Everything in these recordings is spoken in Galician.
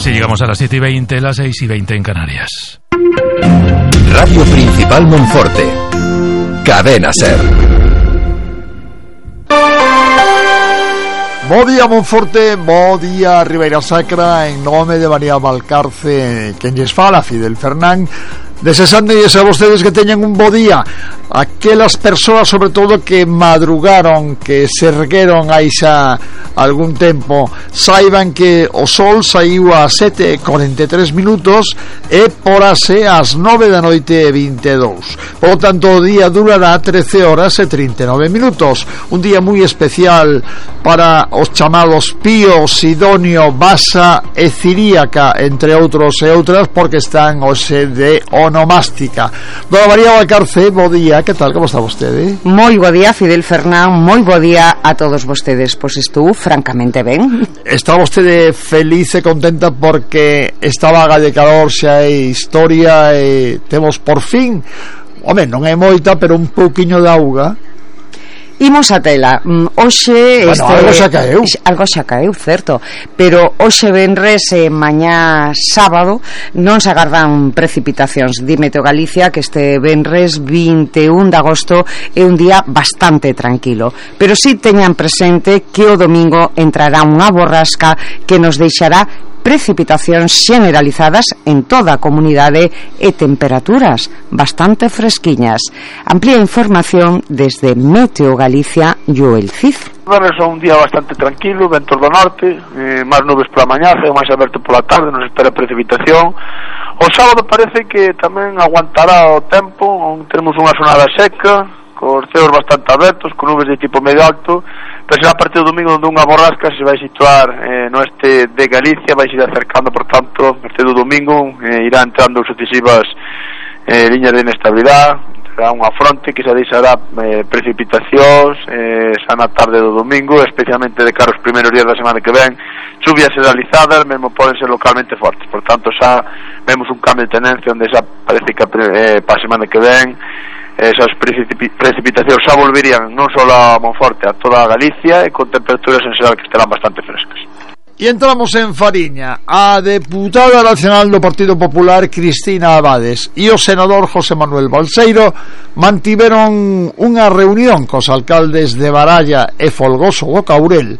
Así llegamos a las 7:20, las 6:20 en Canarias. Radio Principal Monforte. Cadena SER. Bo día Monforte, bo día Ribeira Sacra, en nome de María Valcarce, quen lles fala, Fidel Fernán, desexándoles a vostedes que teñan un bo día. Aquelas persoas, sobre todo, que madrugaron, que se ergueron aí xa algún tempo, saiban que o sol saiu a 7:43 minutos e porase ás 9:22. Por tanto, o día durará 13 horas e 39 minutos. Un día moi especial para os chamados Pío, Sidonio, Basa e Ciríaca, entre outros e outras, porque están hoxe de onomástica. Dona María Valcarce, bo día, que tal, como está vostede? Moi bo día, Fidel Fernán, moi bo día a todos vostedes. Pois estou francamente ben. Está vostede feliz e contenta porque esta vaga de calor xa é historia e temos por fin, home, non é moita, pero un pouquiño de auga. Imos a tela. Hoxe algo xa caeu, certo, pero hoxe venres e mañá sábado non se agardan precipitacións. Di Meteo Galicia que este venres 21 de agosto é un día bastante tranquilo, pero si teñan presente que o domingo entrará unha borrasca que nos deixará precipitacións generalizadas en toda a comunidade e temperaturas bastante fresquiñas. Amplía información desde Meteo Galicia, Joel Cid. Venres é un día bastante tranquilo, ventos do norte, máis nubes pola mañá, ceo máis aberto pola tarde, non se espera precipitación. O sábado parece que tamén aguantará o tempo, teremos unha xornada seca, cos ceos bastante abertos, con nubes de tipo medio alto, pero será a partir do domingo onde unha borrasca se vai situar no este de Galicia, vai ir acercando, por tanto, a partir do domingo irá entrando sucesivas liñas de inestabilidade, será unha fronte que se deixará precipitacións xa na tarde do domingo, especialmente de cara aos primeiros días da semana que ven, chuvias generalizadas, mesmo poden ser localmente fortes, por tanto xa vemos un cambio de tendencia onde xa parece que para a semana que ven esas precipitacións xa volverían non só a Monforte, a toda a Galicia, e con temperaturas en xeral que estarán bastante frescas. E entramos en Fariña. A deputada nacional do Partido Popular, Cristina Abades, e o senador José Manuel Balseiro mantiveron unha reunión cos alcaldes de Baralla e Folgoso do Caurel.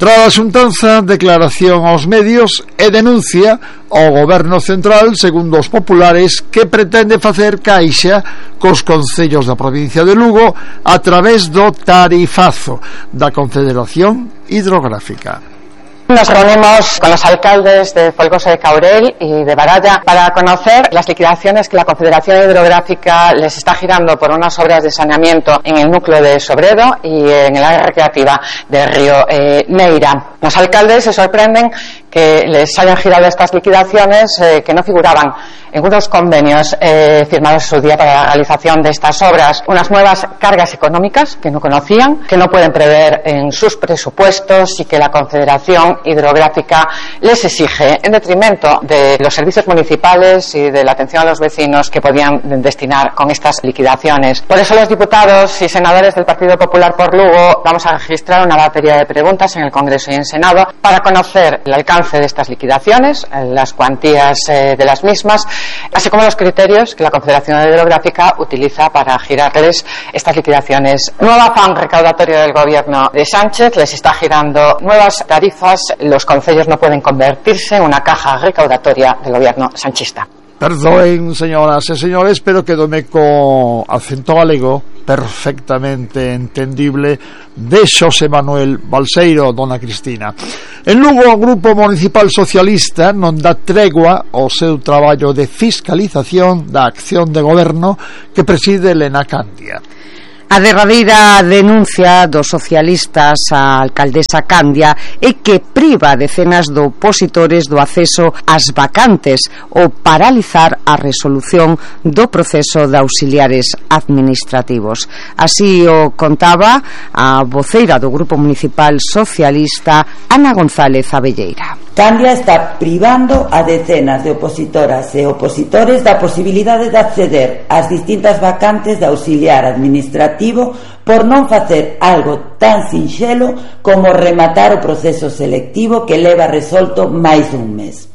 Tras a xuntanza, declaración aos medios e denuncia ao goberno central, segundo os populares, que pretende facer caixa cos concellos da provincia de Lugo a través do tarifazo da Confederación Hidrográfica. Nos reunimos con los alcaldes de Folgoso de Caurel y de Baralla para conocer las liquidaciones que la Confederación Hidrográfica les está girando por unas obras de saneamiento en el núcleo de Sobredo y en el área recreativa del río Neira. Los alcaldes se sorprenden que les hayan girado estas liquidaciones que no figuraban en unos convenios firmados en su día para la realización de estas obras, unas nuevas cargas económicas que no conocían, que no pueden prever en sus presupuestos y que la Confederación Hidrográfica les exige en detrimento de los servicios municipales y de la atención a los vecinos que podían destinar con estas liquidaciones. Por eso los diputados y senadores del Partido Popular por Lugo vamos a registrar una batería de preguntas en el Congreso y en Senado para conocer el alcance de estas liquidaciones, las cuantías de las mismas, así como los criterios que la Confederación Hidrográfica utiliza para girarles estas liquidaciones. Nuevo afán recaudatorio del gobierno de Sánchez, les está girando nuevas tarifas. Los concellos no pueden convertirse en una caja recaudatoria del gobierno sanchista. Perdoen, señoras e señores, pero quedome co acento galego perfectamente entendible de Xosé Manuel Balseiro, dona Cristina. En Lugo, o Grupo Municipal Socialista non dá tregua ao seu traballo de fiscalización da acción de goberno que preside Elena Candia. A derradeira denuncia dos socialistas á alcaldesa Candia é que priva decenas de opositores do acceso ás vacantes ou paralizar a resolución do proceso de auxiliares administrativos. Así o contaba a voceira do Grupo Municipal Socialista, Ana González Abelleira. Candia está privando a decenas de opositoras e opositores da posibilidade de acceder ás distintas vacantes de auxiliar administrativo administrativo por non facer algo tan sinxelo como rematar o proceso selectivo que leva resolto máis dun mes.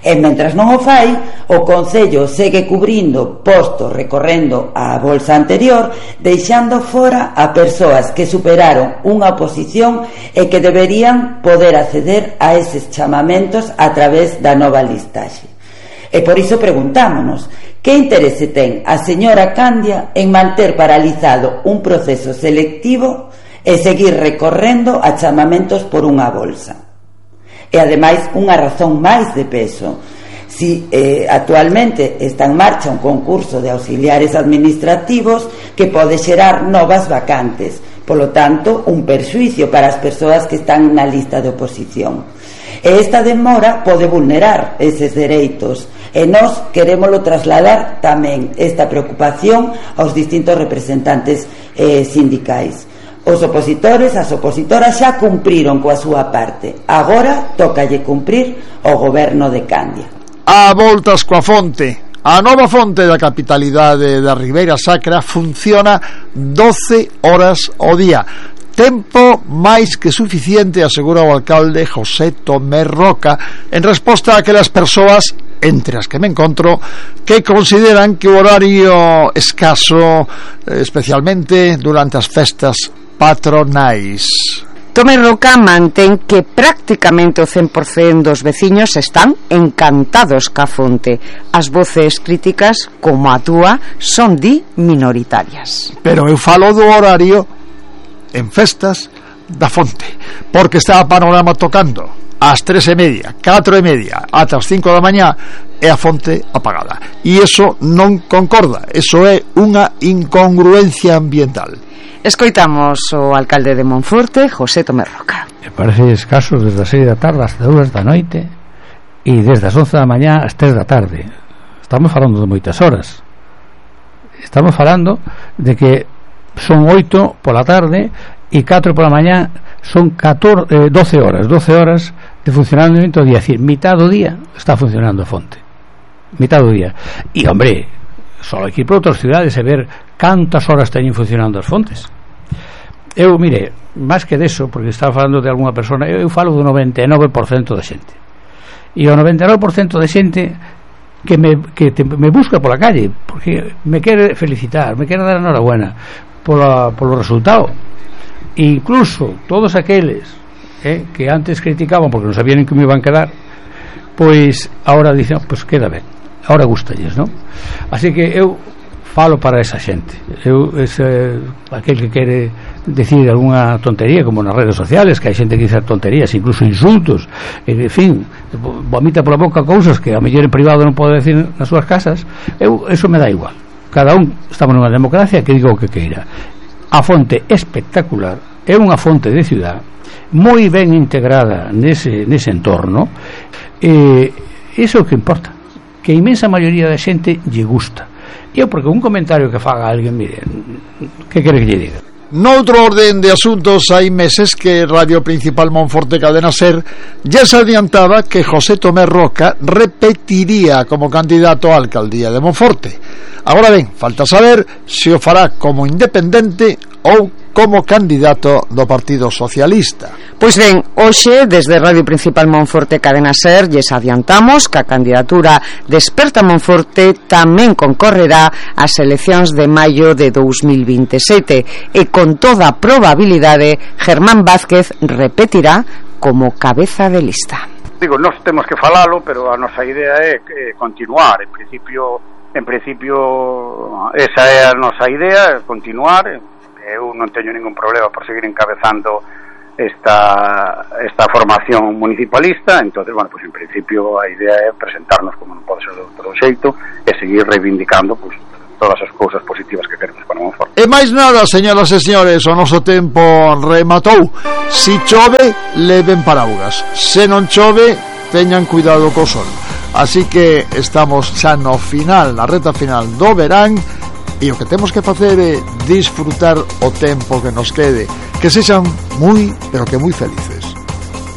E mentras non o fai, o Concello segue cubrindo postos recorrendo a bolsa anterior, deixando fora a persoas que superaron unha oposición e que deberían poder acceder a eses chamamentos a través da nova listaxe. E por iso preguntámonos, que interese ten a señora Candia en manter paralizado un proceso selectivo e seguir recorrendo a chamamentos por unha bolsa? E ademais unha razón máis de peso. Si actualmente está en marcha un concurso de auxiliares administrativos que pode xerar novas vacantes, polo tanto un perxuicio para as persoas que están na lista de oposición. E esta demora pode vulnerar eses dereitos, e nós querémolo trasladar tamén esta preocupación aos distintos representantes sindicais. Os opositores, as opositoras xa cumpriron coa súa parte. Agora tócalle cumprir o goberno de Candia. A voltas coa fonte. A nova fonte da capitalidade da Ribeira Sacra funciona 12 horas ao día. Tempo máis que suficiente, asegura o alcalde José Tomé Roca, en resposta a aquelas persoas, entre as que me encontro, que consideran que o horario escaso, especialmente durante as festas patronais. Tomé Roca mantén que prácticamente o 100% dos veciños están encantados ca fonte. As voces críticas, como a túa, son minoritarias. Pero eu falo do horario en festas da fonte, porque está a Panorama tocando ás 3:30, 4:30 ata as 5 da mañá e a fonte apagada, e iso non concorda. Iso é unha incongruencia ambiental. Escoitamos o alcalde de Monforte, José Tomé Roca. Me parece escaso desde as 6 da tarde hasta 2 da noite e desde as 11 da mañá ás 3 da tarde. Estamos falando de moitas horas. Estamos falando de que son 8 pola tarde e 4 pola mañá, son 12 horas de funcionamento do día. É dicir, mitad do día está funcionando a fonte, mitad do día. E hombre, só hai que ir para outras cidades e ver cantas horas teñen funcionando as fontes. Eu, mire, máis que deso, porque estaba falando de alguna persona, eu falo do 99% da xente, e o 99% da xente que me busca pola calle porque me quere felicitar, me quere dar enhorabuena polo resultado. E incluso todos aqueles que antes criticaban porque non sabían en que me iban a quedar, pois agora dicen, pois queda ben, agora gustalles, non? Así que eu falo para esa xente. Aquel que quere decir algunha tontería, como nas redes sociales, que hai xente que dice tonterías, incluso insultos, en fin, vomita pola boca cousas que a mellor en privado non pode decir nas súas casas. Eso me dá igual. Cada un, estamos nunha democracia, que diga o que queira. A fonte espectacular, é unha fonte de ciudad moi ben integrada nese entorno, iso é o que importa, que a inmensa maioría da xente lle gusta. Porque un comentario que faga alguén, mire, que quere que lle diga? Noutro orden de asuntos, hai meses que Radio Principal Monforte Cadena Ser ya se adiantaba que José Tomé Roca repetiría como candidato á alcaldía de Monforte. Agora ben, falta saber se o fará como independente ou como candidato do Partido Socialista. Pois ben, hoxe desde Radio Principal Monforte Cadena Ser lles adiantamos que a candidatura Desperta Monforte tamén concorrerá ás eleccións de maio de 2027 e con toda probabilidade Germán Vázquez repetirá como cabeza de lista. Digo, nós temos que falalo, pero a nosa idea é continuar. En principio esa é a nosa idea, continuar. Eu non teño ningún problema por seguir encabezando esta formación municipalista. Entonces, bueno, pues en principio a idea é presentarnos como non pode ser de outro xeito e seguir reivindicando pues todas as cousas positivas que queremos para Monforte. E máis nada, señoras e señores, o noso tempo rematou. Si chove, leven paraugas. Se non chove, teñan cuidado co sol. Así que estamos xa no final, na reta final do verán, e o que temos que facer é disfrutar o tempo que nos quede, que sexan moi, pero que moi felices.